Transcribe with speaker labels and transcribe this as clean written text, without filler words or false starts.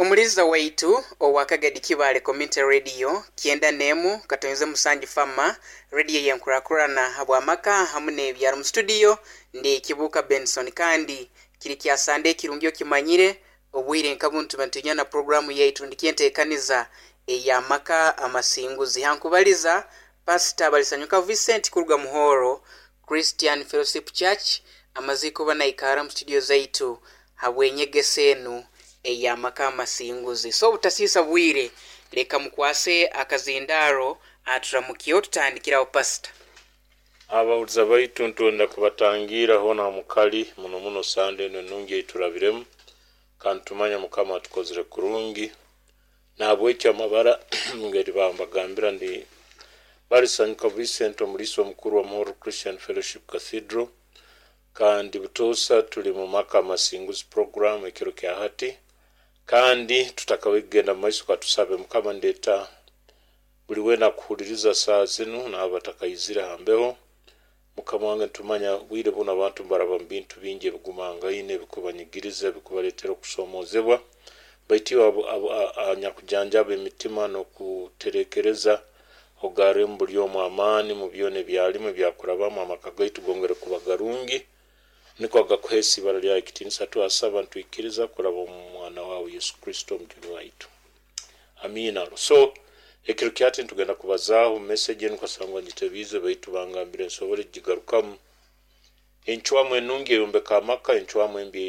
Speaker 1: Omuliza waitu owa Kagadi Kibaale Community Radio 91.7 Fama radio yenkurakurana habw'amaka hamu n'ebyaro. Mu studio ndi Kibuuka Benson, kandi kiri kya Sande ekirungi. Okimanyire obwire nka bunu tuba nitunywa na puroguramu yaitu ndikyenteekaniza ey'amaka amasinguzi. Hankubaliza Pasita Balisanyuka Vincent kuruga Muhoro Christian Fellowship Church, amaziiko banaikara mu studio zaitu habw'enyegesa enu ey'amaka amasinguzi. So obutasiisa bwire, leka mukwase akazindaaro aturamukyeho, tutandikiraho, Pasita.
Speaker 2: Abawuliza baitu, ntwenda kubatangira hoona mukali muno muno Sande enu enungi eiturabiremu, kandi tumanya Mukama atukozere kurungi. Nahabwekyo amabara ngeri bambagambira, ndi Balisanyuka Vincent, omuliisa omukuru wa Muhoro Christian Fellowship Cathedral, kandi butoosa tuli mu Maka Amasinguzi program ekiro kya hati. Kandi tutakabaire kugenda mu maiso, katusabe. Mukama, ndeeta buli weena akuhuliriza saa zinu naabo batakaizire ha mbeho. Mukama wange, nitumanya bwire bunu abantu mbaraba mu bintu bingi ebigumangaine, ebikubanyigiriza, ebikubaleetera okusomozebwa, baitu iwe anyakujanjaba emitima n'okuterekereza, ogarremu buli omu amaani mu byona ebyalimu ebyakurabamu. Amaka gaitu gongere kuba garungi, nikwo agakuheesa ibara lyawe ekitiinisa. Twasaba nitwikiriza kuraba omu mwana wawe Yesu Kristo omujuni waitu, amiina. So ekiro kyati nitugenda kubazaaho message enu, kasangwa ngitebiize, baitu bangambire nsobole kugigarukamu: encwamu enungi eyombeka amaka, encwamu embi.